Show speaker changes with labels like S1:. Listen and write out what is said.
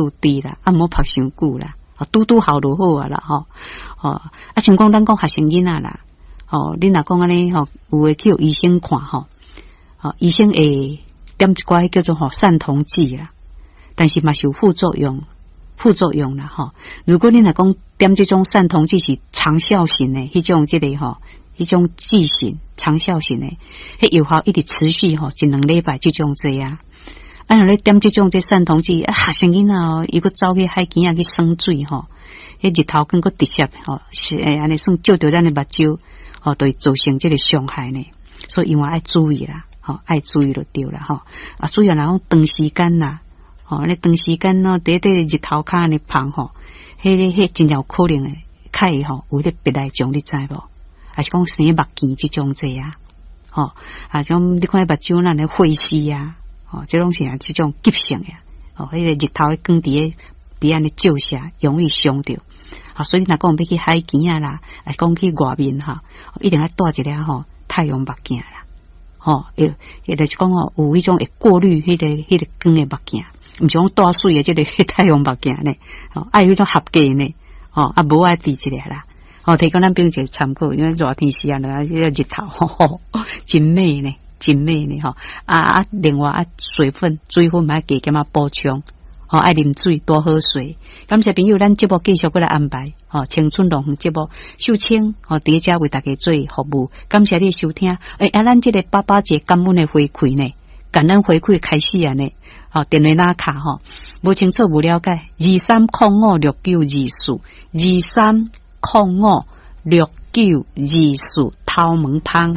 S1: 低啦，啊，毋好曝傷久啦，拄拄好就好啊啦，吼，吼，啊，像講咱講學生囡仔啦，吼，你若講按呢吼，有的去予醫生看吼，吼，醫生會點一寡叫做吼散瞳劑啦，但是嘛是有副作用，副作用啦，吼。如果你若講點這種散瞳劑是長效型的，彼種這個吼，彼種劑型長效型的，彼藥效一直持續吼一兩禮拜這種濟啊。啊，若咧點這種這散瞳劑，啊，學生囡仔哦，伊閣走去海墘仔去耍水吼，彼日頭光閣直接吼，是會按呢算照著咱的目睭，吼，就會造成這個傷害呢。所以因為愛注意啦，吼，愛注意就對啦，吼。啊，主要若講長時間啦，吼，你長時間喏，佇咧日頭跤按呢曝吼，彼个彼真正有可能的，較會吼有彼個白內障，你知無？還是講生目鏡這種濟啊？吼，啊，種你看目睭咱咧血絲啊。吼，這攏是啊，這種急性的，吼，彼個日頭的光佇咧佇按呢照射，容易傷著。啊，所以你若講欲去海墘仔啦，還是講去外面吼，一定愛戴一個吼太陽目鏡啦。吼，也就是講吼，有彼種會過濾彼個光的目鏡，毋是講戴媠的這个太陽目鏡呢。吼，愛有彼種合格呢。吼，啊，無愛戴一个啦。吼，提供咱朋友一个參考，因為熱天時啊，彼個日頭吼，真猛呢。真美呢吼，啊啊！另外啊，水分水分嘛愛加減仔補充，吼，愛啉水，多喝水。感謝朋友，咱節目繼續閣來安排，吼，青春樂園節目秀清吼，佇遮為大家做服務。感謝你收聽，欸，啊，咱這个爸爸節感恩的回饋呢，感恩回饋開始啊呢，吼，電話哪卡吼，無清楚無了解，23056924，23056924，頭毛芳。